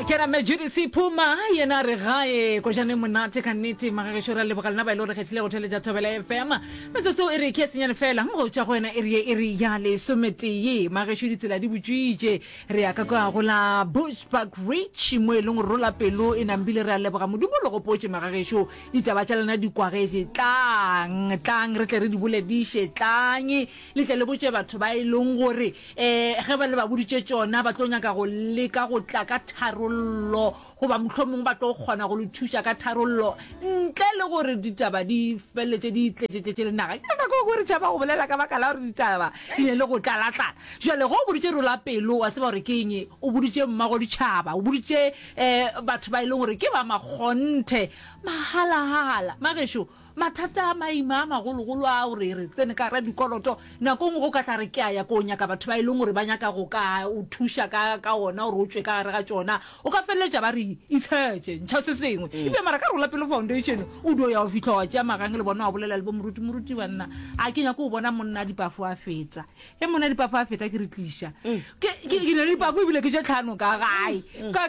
A kena Mme Judith Phuma yena a re gae kojane monate ka nnete magagešo re a leboga lena ba e le gore kgethile go theletša Thobela FM metsotso e re ke senyane fela go tšwa go wena e re e re ya lesometee magešo ditsela di butšwitše re ya ka kwa go la Bushbuckridge mo e leng gore rola pelo e nambile re a leboga modimo le gopotše magagešo ditaba tša lena di kwagetše tlang tlang re tle re di bolediše tlang le tle le botše batho ba e leng gore E, ge ba le ba boditše tšona, ba tlo nyaka go leka go tla ka tharollo, goba mohlomongwe ba tlo kgona go le thuša ka tharollo, ntle le gore ditaba di feleletše di tletšetletše le naga. Ke nako e re tšhaba go bolela ka baka la gore ditaba di ne le go tlalatlala. Jwale ge o boditše rola pelo, wa tseba gore ke eng, o boditše mmago ditšhaba, o boditše um batho ba e leng gore ke ba makgonthe, mahalahala. Magešo, Mathata a maima a magologolo a gore re tsene ka gara dikoloto, nako nngwe go ka tla re ke a ya ko nyaka batho ba e leng gore ba nyaka go ka o thuša ka, ka ona gore o tšwe ka gare ga tšona, o ka feleletša ba re itshetše, ntšha se sengwe. Ebile mara ka Rola Pelo Foundation o dio ya go fihla wa tšea magang le bona wa bolela le bo moruti, moruti banna a ke nyake go bona monna a dipafo a feta. Ge monna dipafo a feta ke re tliša. Ke, ke, ke ne le dipafo ebile ke tše tlhano ka gae. Ka,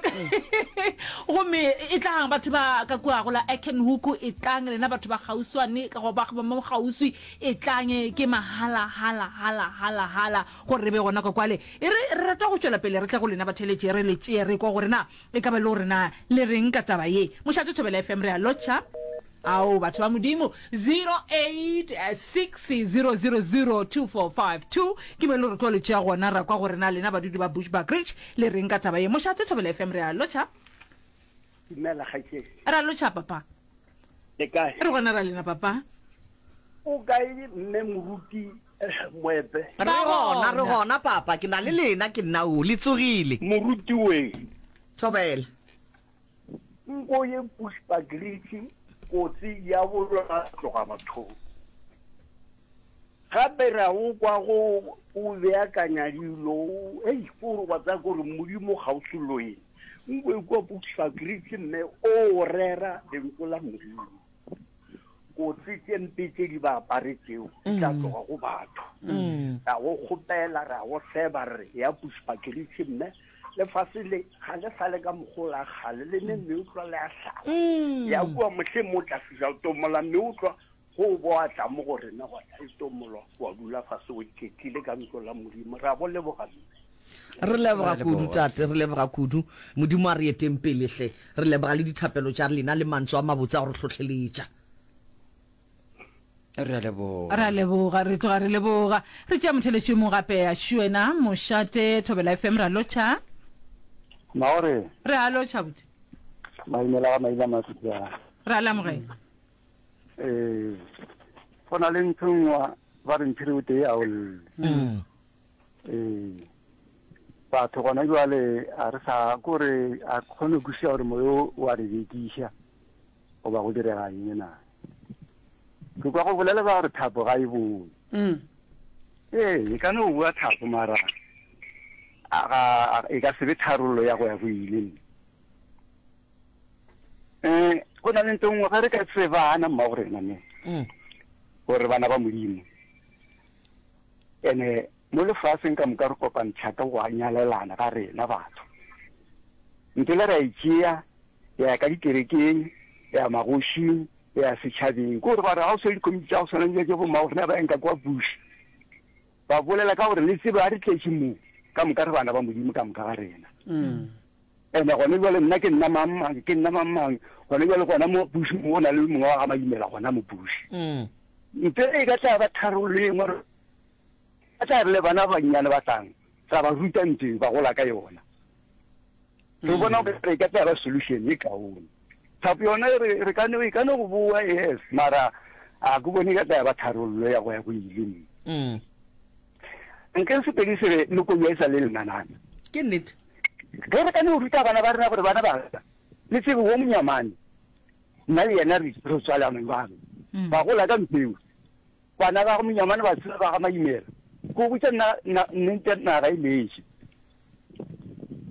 gomme e tlang batho ba ka kua go la Acornhoek, e tlang lena batho ba kgauswane, ka go ba ba mo kgauswi, e tlang ke mahala, hala, hala, hala, hala, gore re be gona ka kwale. E re, re rata go tšwela pele re tle go lena batheeletši, re le tšee re kwa gore na E ka ba e le gore na le reng ka taba ye? Mošate Thobela FM re a lotšha. Ao, batho ba Modimo, 0860002452 ke mo e le gore tlo le tšea gona ra kwa gore na lena badudi ba Bushbuckridge le reng ka taba ye. Mošate Thobela FM re a lotšha. Dumela kgaetšedi. Re a lotšha papa. Le kae? Re gona ra lena papa. O kae mme moruti Moepe? Re gona, re gona papa, ke na le lena, ke nna o, le tsogile. Moruti we. Thobela. Nko ye Bushbuckridge kotsi ya bolwa tloga bathong. Gape ra o kwa go o beakanya dilo, hei, ko wa tsaya gore Modimo ga o soloeng. Nko e kwa Bushbuckridge mme o rera lentso la Modimo. Kotsi tše mpe tše di ba aparetšego di tla tloga go batho. Ra go kgopela, ra go seba, re re, Ya Bushbuckridge mme lefase le ga le sa le ka mokgwa o la kgale, le ne meotlwa le a hlaba. Ya kua mohleng mo o tla fihla o tomola meotlwa, go o bo wa tla mo go rena gwa tla e tomolwa, wa dula fase o iketlile ka ntlo la Modimo. Ra go leboga mme. Re leboga kudu, Tate. Re leboga kudu. Modimo a re eteng pele hle. Re leboga le dithapelo tša lena le mantswe a mabotse a go re hlohleletša. Re a leboga. Re a leboga, re tloga re leboga. Re tšea motheletši yo mongwe gape, a Shuena Mošate, Thobela FM, re a lotšha. Maore. Re a lotšha, buti. Maimela ga maina mafika. Re a le amogela. Ee, go na le ntho nngwe ba re mphiri o tee a o lle. Mm. Ee, batho gona jwale a re sa kore a kgone go kwešiša gore moyo o a re bekiša goba go direga eng na. Ke kwa go bolela ba gore thapo ga e boe. Mm. Ee, e ka no boa thapo mara a ga e ka se be tharollo ya go ya go ile. Eh, go na le ntho nngwe ge re ka tsebana mmago rena ne. Mm. Gore bana ba Modimo. Ene mo lefaseng ka moka re kopantšha ka go nyalelana ga rena batho. Ntho le re a e tšea ya ya ka dikerekeng, ya ya magošing, ya ya setšhabeng. Ke gore ba re ga o swere dikomiti tša go swana le tša bo rena ba enka kwa Bush, ba bolela ka gore le tsebe ga re tletše mo, ka moka re bana ba Modimo ka moka ga rena. Ene gone bjale nna ke nna mang mang, ke nna mang mang, gone bjale gona mo Bush mo go na le mongwe wa ga Maimela gona mo Bush. Ntle e ka tla ba tharollo e nngwe, re tla re le bana ba bannyane ba tlang, ra ba ruta ntho e, ba gola ka yona. Re bona gore e ka tla ba solution e kaone. Thapo yona e re, re ka no, e ka no go boa, yes, mara a ke bone e ka tla ya ba tharollo ya go ya go ile. Nke Sepedi se re lekobi e sa le lenanana. Ke nnete. Ge re ka no ruta bana ba rena gore bana ba ka, le tsebe wo monyamane, nna le yena re re tswalana jwang. Ba gola ka ntho eo. Bana ba ga monyamane ba tseba ba ga Maimela. Ke go botša nna, nna, nnete naga e letše.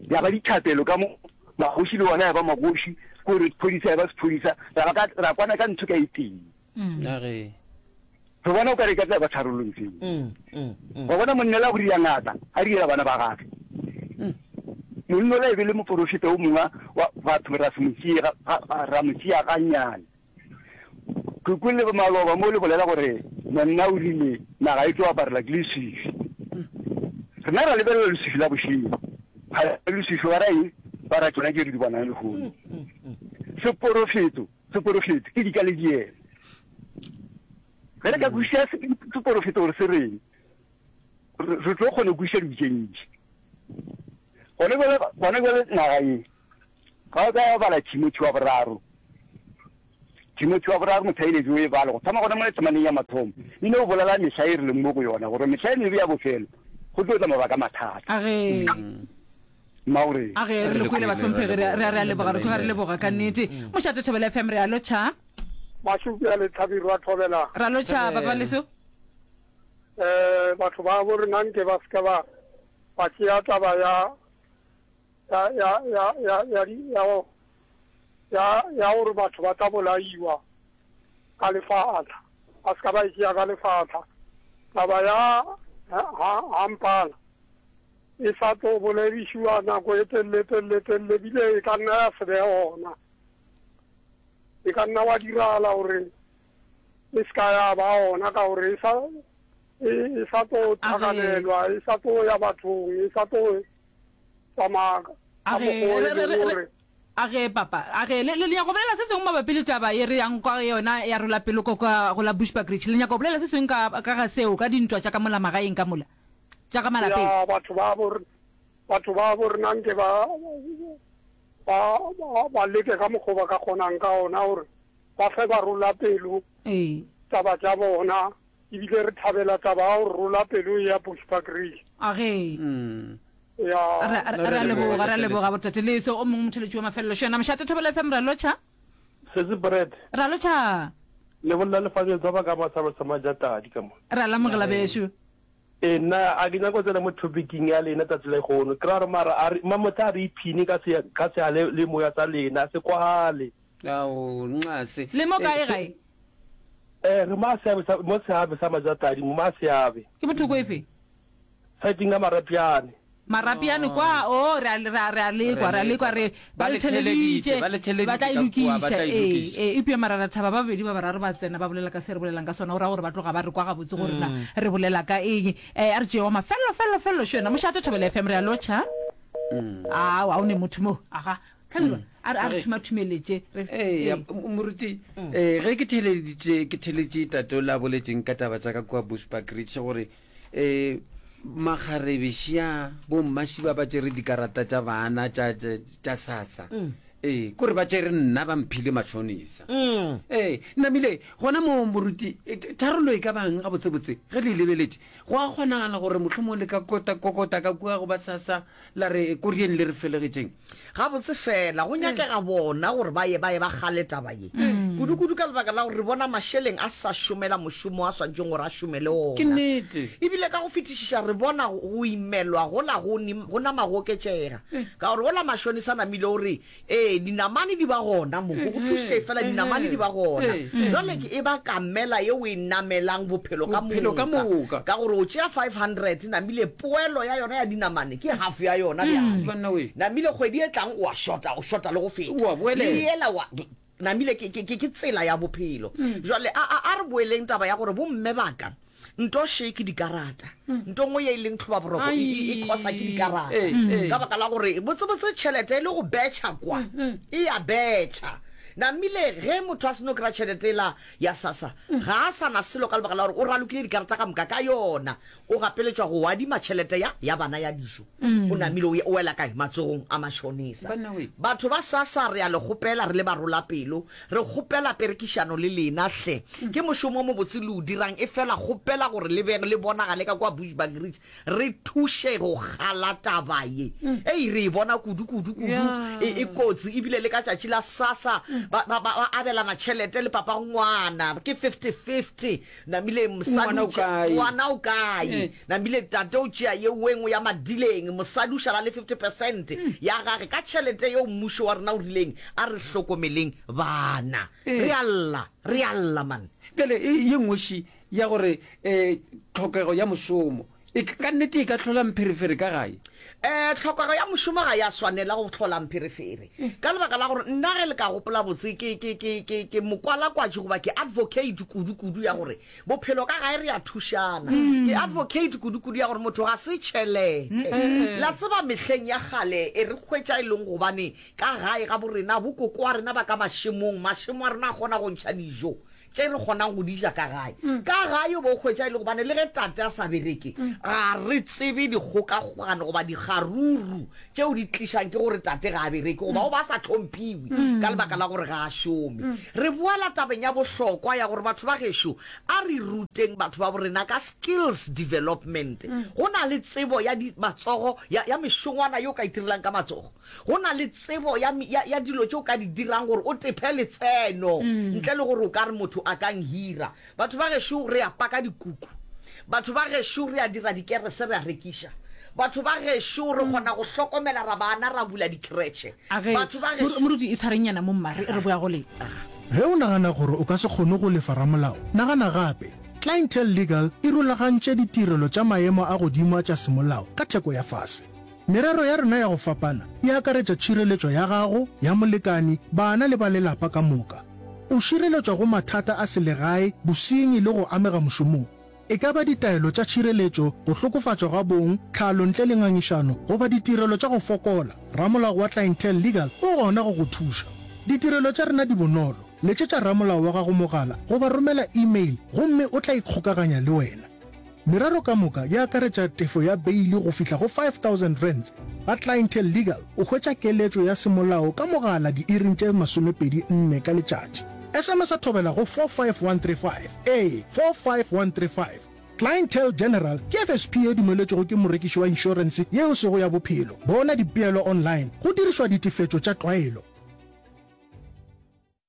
Ya ba dithapelo ka mo, magoši le ona ya ba magoši, ke gore sephodisa ya ba sephodisa, ra ba ka, ra kwana ka ntho ka e tee. Na ge. Re bona o ka re e ka tla ba tharollo ntho eo. Wa bona monna la go ria ngaka, a riela bana ba gage. Monna ola e be le moporofeta o mongwe wa batho ra se mo tšee, ra mo tšea gannyane. Ke kwele maloba mo le bolela gore monna o rile naga e tlo aparela ke leswiswi. Rena ra lebelela leswiswi la bošego. Ga leswiswi ba ra eng? Ba ra tšona tše re di bonang lehono. Seporofeto, seporofeto ke dika le diema. Ge re ka kwešiša seporofeto gore se reng, re tlo kgona go kwešiša dilo tše ntši. Gone bjale, gone bjale naga ye, ga o ka bala Timothy wa boraro, Timothy wa boraro motheeletši o e bale go thoma gona mo temaneng ya mathomo, e no bolela mehla e re leng mo go yona, gore mehla e mebe ya bofelo go tlo tla mabaka a mathata. A ge. Mmago A ge re le kwele bahlomphegi, re a re a leboga, re tloga re leboga ka nnete. Mošate Thobela FM re a lotšha. Mašupi a Lethabirwa Thobela. Ra lotšha papa leso. Eh batho ba bo rena nke ba seka ba ba tšea taba ya ya ya ya ya ya ya ya ya gore batho ba tla bolaiwa ka lefatla ba seka ba e tšea ka lefatla taba ya ha ha mpala e sa tlo boledišiwa nako e telele telele telele bile e ka nna ya se be gona e ka nna wa diragala gore e se ka ya ba gona ka gore e sa e, e sa tlo tlhakanelwa e sa tlo ya bathong e sa tlo tsamaya ka mokgwa o e leng gore A ge, papa. A ge, le, le nyaka go bolela se sengwe mabapi le taba ye re yang kwa yona ya rola pelo ko ka go la Bushbuckridge? Le nyaka go bolela se sengwe ka, ka ga seo, ka dintwa tša ka mola magaeng ka mola, tša ka malapeng? Ya, batho ba bo, batho ba bo rena nke ba, ba, ba, ba leke ka mokgwa ba ka kgonang ka ona gore ba fe ba rola pelo Ee. taba tša bona, ebile re thabela taba ya go rola pelo ya Bushbuckridge. A ge. Ya. Re, re, re a leboga, re a leboga botate Leso. O mongwe motheletši wa mafelelo šo yena. Mošate Thobela FM, re a lotšha. Sesi Brad. Re a lotšha. Le bolela le Fabio Tswaba ka Masabo sa Majatadi ka mo. Re a lamogela bešo. Ee nna a ke nyako tsena mo topicing ya lena tsatsi la lehono. Ke ra gore mara a re mamotla a re iphine ka se ka se le moya tsa lena se kwagale. Ao, nxase. Le mo kae gae? Eh, re mo seabe sa mo seabe sa Majatadi, mo Maseabe. Ke bothoko efe? Saeteng ya Marapyane. Marapyane kwa, oh, re a, re a, re a lekwa, re a lekwa, re, ba le theleditše, ba le theleditše ba tla e ka kua, ba lokiša, tla e ee, lokiša. ee, eupša mara ra thaba ba babedi ba bararo ba tsena ba bolela ka se re bolelang ka sona, go ra gore ba tloga ba re kwa gabotse gore na re bolela ka eng. Eh, a re tšee wa mafelelo, felelo, felelo, šo yena, Mošate Thobela FM, re a lotšha. Aowa, o ne motho mo, aga. Hlabirwa, a re a re thumathumeletše. Re, Eya, ee. moruti, eh, ge ke theleditše, ke theletše tate o la boletšeng ka taba tša ka kua Bushbuckridge gore eh, makgarebe šia bommaši ba ba tšere dikarata tša bana tša, tša, tša SASSA. Ee, kore ba tšere nna ba mphile matšhonisa. Ee, namile gona moo moruti, eh, tharollo e ka bang gabotsebotse ge le e lebeletše? Go a kgonagala gore mohlomong le ka kota, kokota ka kua go ba SASSA la re korieng le re felegetšeng. Gabotse fela go nyakega bona gore ba ye ba ye ba kgale taba ye. Kudu-kudu ka lebaka la gore re bona mašeleng a sa šomela mošomo a swanetšeng gore a šomele Ke ona. nnete. E bile ka go fetišiša re bona go imelwa gola go go nama go oketšega. Ka gore gola mašonisa namile o re Ee, dinamane di ba gona mo. Go go thušitše efela dinamane di ba gona. Jwale ke e ba kamela ye o e namelang bophelo ka Bophelo ka moka. moka. Ka gore o tšea 500, namile poelo ya yona ya dinamane ke half ya yona bjale. Banna we. Namile kgwedi e tlang o a shota, o shota le go feta. O a boelela. Le yela wa, namile ke, ke, ke, ke tsela ya bophelo. Jwale a, a, a re boeleng taba ya gore bomme ba ka, Nto še ke dikarata. Nto nngwe ye e leng tlhobaboroko e, e, e khosa ke dikarata. Ka baka la gore botsebotse tšhelete e le go betšha kwa, e ya betšha. Namile ge motho a seno kry-a tšhelete ela ya SASSA, ga a sa na selo ka lebaka la gore o ralokile dikarata ka moka ka yona. O gapeletšwa go adima tšhelete ya, ya bana ya dijo. O namile o, o wela kae? Matsogong a matšhonisa. Batho ba SASSA re a le kgopela re le barolapelo, Re kgopela perekišano le lena hle. Ke mošomo o mobotse le o dirang, efela kgopela gore le be le bonagale ka kua Bushbuckridge re thuše go kgala taba ye. Ei, re e bona kudu, kudu, kudu. E, e kotsi, ebile le ka tšatši la SASSA ba, ba, ba abelana tšhelete le papago ngwana, ke fifty-fifty. Namile mosadi Ngwana o o tšea, kae? ngwana o kae? Namile tate o tšea ye wengwe ya madileng, mosadi o šala le 50 percent ya gage ka tšhelete yeo mmušo wa rena o rileng a re hlokomeleng bana. Re a lla, re a lla man. Bjale e, ye nngwe še ya gore um tlhokego ya mošomo. E, ka nnete e ka hlola mpherefere ka gae? Um tlhokego ya mošomo ga ya swanela go hlola mpherefere ka lebaka la gore nna ge le ka gopola botse ke, ke, ke, ke, ke mokwalakwatši goba ke advocate kudu-kudu ya gore bophelo ka gae re a thušana. Ke advocate kudu-kudu ya gore motho ga se tšhelete. La tseba mehleng ya kgale e re hwetša e leng gobane ka gae ga borena bokoko wa rena ba ka mašemong, mašemo a rena a kgona go ntšha dijo. Tše re kgonang go di ja ka gae. Ka gae o bo hwetša e le gobane le ge tate a sa bereke, ga re tsebe dikgokagokagano goba dikgaruru tšeo di tlišang ke gore tate ga a bereke goba o ba a sa hlomphiwe ka lebaka la gore ga a šome. Re boela tabeng ya bohlokwa ya gore batho ba gešo a re ruteng batho ba borena ka skills development. Go na le tsebo ya di matsogo ya ya mešongwana ye o ka itirelang ka matsogo. Go na le tsebo ya, ya, ya dilo tše o ka di dirang gore o tephe letseno ntle le gore o ka re motho a ka nhira. Batho ba gešo re a paka dikuku. Batho ba gešo re a dira dikerese re a rekiša. Batho ba gešo re kgona go hlokomela ra bana ra bula dikretšhe. A ge, Batho ba gešo. Moruti, itshwarengnyana mo mma, re, re boya go lena. Ge o nagana gore o ka se kgone go lefa ramolao, nagana gape. Clientele Legal e rulagantše ditirelo tša maemo a godimo a tša semolao ka theko ya fase. Merero ya rena ya go fapana e akaretša tšhireletšo ya gago, ya molekani, bana le ba lelapa ka moka. O šireletšwa go mathata a selegae, bosenyi le go amega mošomong. E ka ba ditaelo tša tšhireletšo, go hlokofatšwa ga bong, tlhalo ntle le ngangišano goba ditirelo tša go fokola, ramolao wa Clientele Legal o gona go go thuša. Ditirelo tša rena di bonolo, letšetša ramolao wa gago mogala goba romela email gomme o tla ikgokaganya le wena. Merero ka moka e akaretša tefo ya beili go fihla go R5000. Ga Clientele Legal o hwetša keletšo ya semolao ka mogala diiring tše 24 ka letšatši. SMS-a thobela go 45135, ee, 45135. Clientele General ke FSP ye dumeletšwego ke morekiši wa inšorense ye e sego ya bophelo. Bona dipeelo online go dirišwa ditefetšo tša tlwaelo.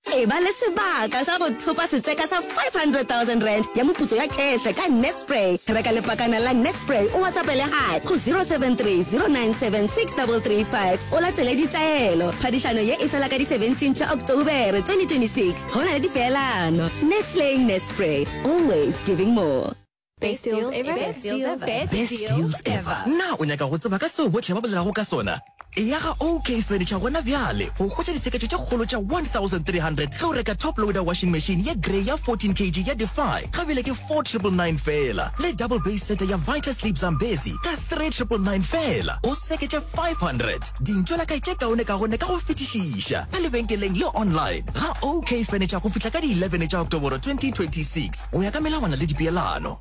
Eba le sebaka sa go thopa setseka sa R500,000 ya moputso ya kheše ka Nespray. Reka lepakana la Nespray o WhatsAppele Hi go 073 097 6335 o latele ditaelo. Phadišano ye e fela ka di 17 tša Oktobere 2026. Go na le dipeelano. Nestle Nespray, always giving more. Best deals ever. Best deals ever. Best deals ever. Na o nyaka go tseba ka seo bohle ba bolelago ka sona? Eya ga OK Furniture gona bjale go hwetša ditsheketšo tše kgolo tša 1300 ge o reka top loader washing machine ye grey ya 14 kg ya Defy ga bjale ke 4999 feela le double base setter ya Vita Sleep Zambezi ka 3999 feela. O seketše 500 dintšwelakae tše kaonekaone ka go fetišiša ka lebenkeleng le online ga OK Furniture go fihla ka di 11 tša Oktoboro 2026. Go ya ka melawana le dipeelano.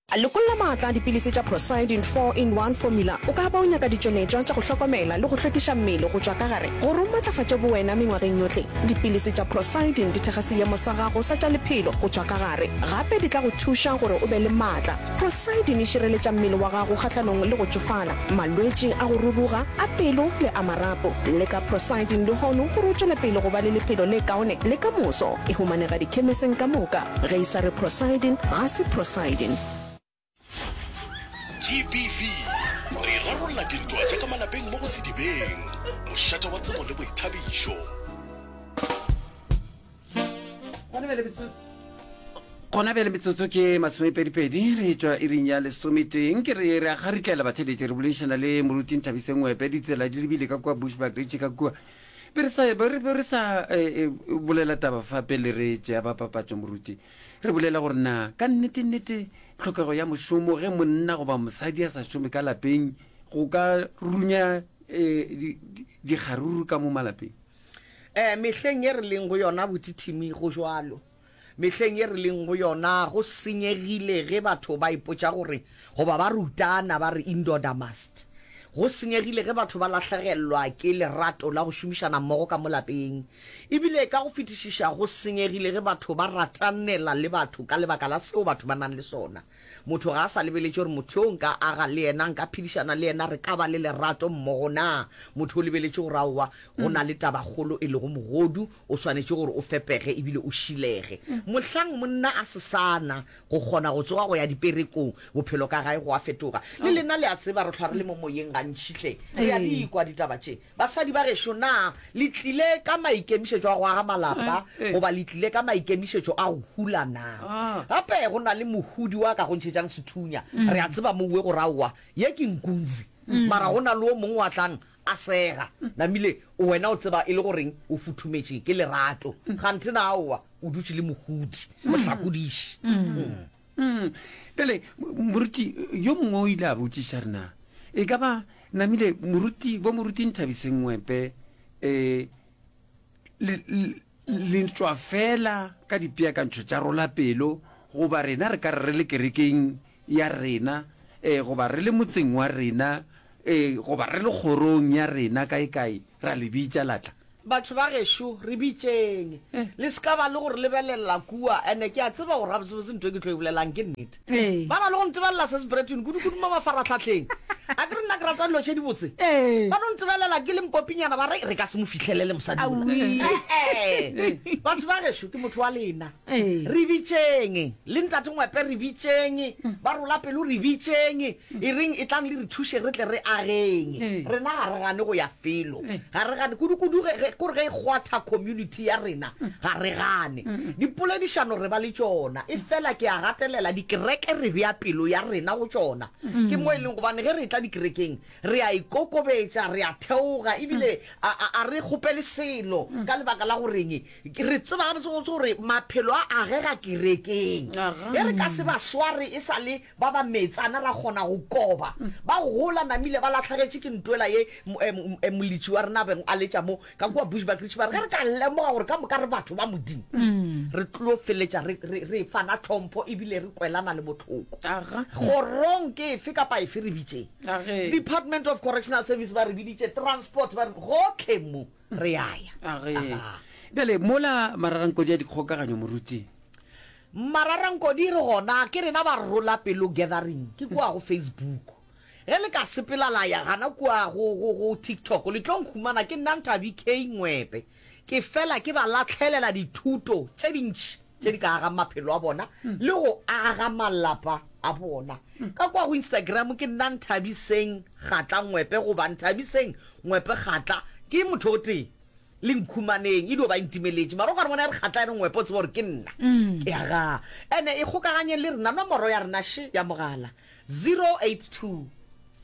Lokolla maatla a dipilisi tša Procyldin 4-in-1 Formula. O ka ba o nyaka ditšweletšwa tša go hlokomela le go hlwekiša mmele go tšwa ka gare gore o matlafatše bowena mengwageng yohle. Dipilisi tša Procyldin di thekga seemo sa gago sa tša lephelo go tšwa ka gare. Gape di tla go thuša gore o be le maatla. Procyldin e šireletša mmele wa gago kgahlanong le go tšofala, malwetši a go ruruga, a pelo le a marapo. Leka Procyldin lehono gore o tšwele pele go ba le lephelo le kaone le ka moso. E humanega dikhemiseng ka moka. Ge e sa re Procyldin, ga se Procyldin. GBV, Re rarolla dintwa tša ka malapeng mo go Sedibeng, mošate wa tsebo le boithabišo. Gona bjale metsotso ke masomepedipedi re tšwa iring ya lesometeng ke re re a garitlela batheletše re boledišana le moruti Nthabiseng Ngwepe ditsela di lebile ka kua Bushbuckridge ka kua Be re sa, be re, be re sa eh, eh, bolela taba fa pele re tšea ba papatšo, moruti. Re bolela gore na ka nnete nnete tlhokego ya mošomo ge monna goba mosadi a sa šome ka lapeng go ka runya eh, di, di, dikgaruru ka mo malapeng. Eh, mehleng ye re leng go yona botithimi go jwalo. Mehleng ye re leng go yona go senyegile ge batho ba ipotša gore goba ba rutana ba re indoda must. Go senyegile ge batho ba lahlegelwa ke lerato la go šomišana mmogo ka mo lapeng. E bile ka go fetišiša go senyegile ge batho ba ratanela le batho ka lebaka la seo batho ba nang le sona. Motho ga a sa lebeletše gore motho yo nka aga le yena, nka phedišana le yena, re ka ba le lerato mmogo na. Motho o lebeletše gore aowa, go na le tabakgolo e lego mogodu, o swanetše gore o fepege e bile o šilege. Mohlang monna a se sa na go kgona go tsoga go ya diperekong, bophelo ka gae go a fetoga. Le lena le a tseba, re hlwa re le mo moyeng gantši. bantši hle. Re a di kwa ditaba tše. Basadi ba gešo, na le tlile ka maikemišetšo a go aga malapa goba le tlile ka maikemišetšo a go hula na? Gape go na le mohudi wa ka go ntšhetšang sethunya. Re a tseba mouwe gore aowa, ye ke nkunzi. Mara go na le o mongwe wa tlang a sega. Namile wena o tseba e le goreng o futhumetše ke lerato. Kganthe na aowa, o dutše le mohudi, mohlakodiši. Bjale, moruti yo mongwe o ile a botšiša re na e ka ba namile moruti, bo moruti Nthabiseng Ngwepe, um le, le tšwa fela ka dipeakantšho tša rola pelo, goba rena re ka re re le kerekeng ya rena, um goba re le motseng wa rena, um goba re le kgorong ya rena kae-kae, ra le bitša la tla. Batho ba gešo, re bitšeng. Le se ka ba le go re lebelelela kua. And-e ke a tseba gore gabotsebotse ntho e ke tlo e bolelang ke nnete. Ba na le go ntebelela Sis Bretwin, kudu-kudu mo mafaratlhahleng. Akere nna ke rata dilo tše dibotse. Ba no ntebelela ke le mpopinyana ba re, re ka se mo fihlelele mosadi yola. E-e. Batho ba gešo, ke motho wa lena. Re bitšeng. Le Ntate Ngwepe re bitšeng. Ba rola pelo re bitšeng. E reng etlang le re thuše re tle re ageng. Rena ga re gane go ya felo. Ga re gane. Kudu-kudu ge, ge, kore ge e kgwatha community ya rena, ga re gane. Dipoledišano re ba le tšona. Efela ke a gatelela, dikereke re bea pelo ya rena go tšona. Ke mo e leng gobane ge re etla dikerekeng, re a ikokobetša, re a theoga, ebile a, a, a re kgopele selo ka lebaka la goreng Re tseba gabotsebotse gore maphelo a agega kerekeng. Ge re ka se ba sware e sa le ba ba meetsana ra kgona go koba. Ba gola namile ba lahlagetše ke ntwela ye molitši wa rena a bego a letša mo ka kua Bushbuckridge ba re ge re ka lemoga gore ka moka re batho ba Modimo re tlo feletša re, re, re fana tlhompho ebile re kwelana le bohloko. Kgorong ke efe kapa efe re bitšeng. Department of Correctional Service ba re biditše, Transport ba re, gohle mo. Re a ya. A ge. Bjale, mola mararankodi a dikgokaganyo, moruti. Mararankodi re gona, ke rena ba Rola Pelo Gathering, ke kua go Facebook. Ge le ka sepela la ya gana kua go, go, go TikTok, le tlo nkhumana, ke nna Nthabi K. Ngwepe. Ke fela ke ba lahlelela dithuto tše dintši tše di ka agang maphelo a bona le go aga malapa a bona. Ka kua go Instagram ke nna Nthabiseng Kgatla Ngwepe goba Nthabiseng Ngwepe Kgatla. Ke motho o tee le nkhumaneng, e dio ba e ntimeletše. Mara o ka re bona e re Kgatla e re Ngwepe o tsebe gore ke nna. Ke aga. Ene ikgokaganyeng le rena, nomoro ya rena še ya mogala, 082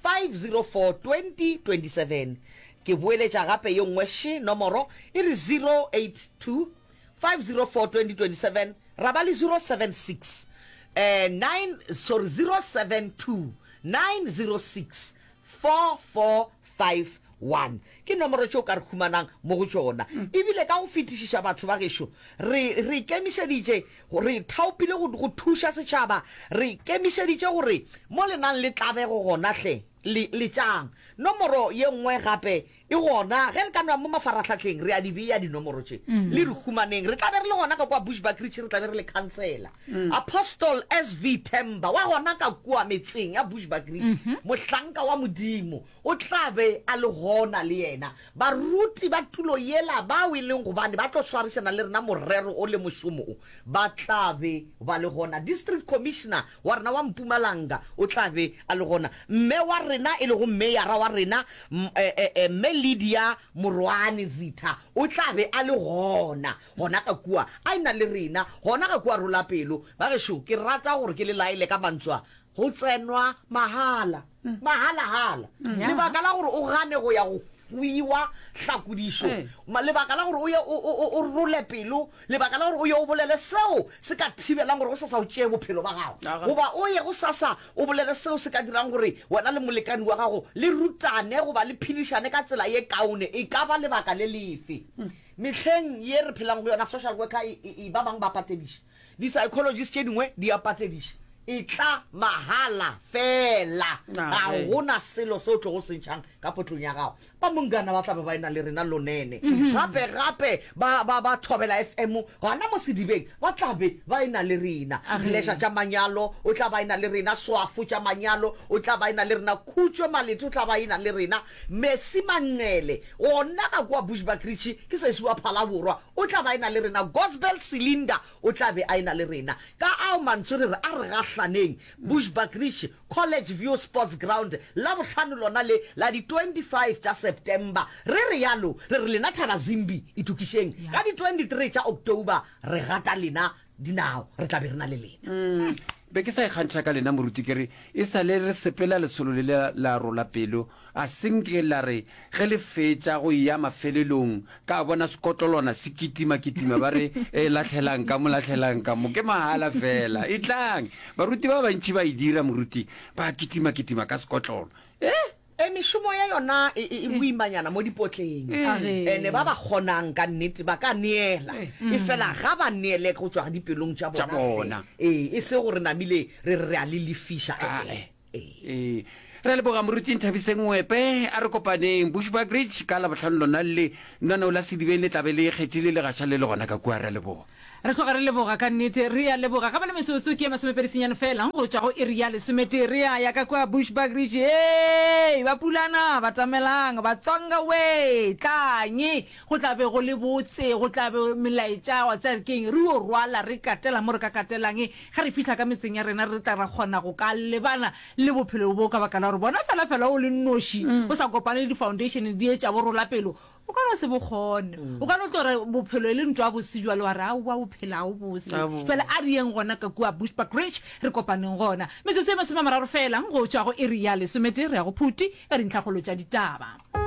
504 2027. Ke boeletša gape ye nngwe še nomoro, e re 082 504 2027 ra ba le 076 eh, 9 sorry 072 906 4451 ke nomoro tše o ka re humanang mo go tšona. Ebile ka go fetišiša batho ba gešo re re ikemišeditše re thaopile go go thuša setšhaba re ikemišeditše gore mo le nang le tlabego gona hle le letšang nomoro ye nngwe gape E gona, ge re ka no ya mo mafarahlahleng, re a di bea dinomoro tše. Le re humaneng. Re tla be re le gona ka kua Bushbuckridge, re tla be re le khansela. Apostle SV Themba, wa gona ka kua metseng ya Bushbuckridge, mohlanka wa Modimo, o tla be a le gona le yena. Baruti ba tulo yela bao e leng gobane ba tlo swarišana le rena morero o le mošomo o, ba tla be ba le gona. District Commissioner wa rena wa Mpumalanga o tla be a le gona. Mme wa rena, e lego meyara wa rena, Mme Lydia Morwane Zitha, o tla be a le gona, gona ka kua, a e-na le rena, gona ka kua Rolapelo. Bagešo, ke rata gore ke le laele ka mantswe a, go tsenwa mahala, mahala-hala. Lebaka la gore o gane go ya go hwiwa hlakodišo, lebaka la gore o ye o, o, o, o role pelo, Lebaka la gore o ye o bolele seo se ka thibelang gore gosasa o tšee bophelo ba gago, goba o ye gosasa o bolele seo se ka dirang gore wena le molekani wa gago le rutane goba le phedišane ka tsela ye kaone, e ka ba lebaka le lefe. Mehleng ye re phelang go yona, social worker e, e, e, ba bangwe ba patediša. Di-psychologist tše dingwe di a patediša. Etla mahala feela. Ga go na selo se o tlogo se ntšhang ka potlong ya gago. Ba Mongana ba tla be ba e-na le rena Lonene. Gape, gape ba, ba, ba Thobela FM gona mo sedibeng ba tla be ba e-na le rena. Pleasure tša manyalo o tla ba e-na le rena. Swafo tša manyalo o tla ba e-na le rena. Khutšo Malete o tla ba e-na le rena. Mercy Manqele gona ka kua Bushbuckridge ke sesi wa Phalaborwa o tla ba e-na le rena. Gospel Silinda o tla be a e-na le rena. Ka ao mantswe re re a re gahlane. Mohlaneng, Bushbuckridge, College View Sports Ground, Labohlano lona le la di 25 tša September. Re realo re re lena Thabazimbi itokišeng, ka di 23 tša October re gata lena dinao, re tla be re na le lena. Be ke sa ikgantšha ka lena moruti ke re e sa le re sepela lesolo le la la rola pelo a se nke la re ge le fetša go eya mafelelong ka bona sekotlolwana se kitima kitima ba re e lahlelang ka mo lahlelang ka mo ke mahala fela etlang baruti ba bantši ba e dira moruti ba kitima kitima ka sekotlolo eh E, mešomo ya yona e, e, e boimanyana mo dipotleng. Ene ba ba kgonang ka nnete ba ka neela, efela ga ba neele go tšwa dipelong tša Tša bona hle. bona. Ee, e se gore namile re re re a le lefiša, ee. Ee. Ee. Re a leboga Moruti Nthabiseng Ngwepe. A re kopaneng Bushbuckridge ka Labohlano lona le. Lenaneo la Sedibeng le tla be le ikgethile le gaša le le gona ka kua. Re a leboga. Re tloga re leboga ka nnete. Re a leboga. Ga bjale metsotso ke ye masomepedi senyane feela go tšwa go iri ya lesometee. Re a ya ka kua Bushbuckridge. Hei, Bapulana, batamelang, Batsonga wee, tlang. Go tla be go le botse, go tla be melaetša, wa tseba ke eng, re yo rwala, re katela mo re ka katelang. Ge re fihla ka metseng ya rena, re tla ra kgona go ka lebana le bophelo bo ka baka la gore bona fela fela o le nnoši, o sa kopane le di-foundation di etša bo rolapelo, O ka no se bo kgone. O ka no tlo re bophelo e le ntwa bose jwale wa re aowa bophelo ga o bose. Jwale a re yeng gona ka kua Bushbuckridge re kopaneng gona. Metsotso e masomeamararo fela go tšwa go iri ya lesometee re ya go Phuti ka dintlhakgolo tša ditaba.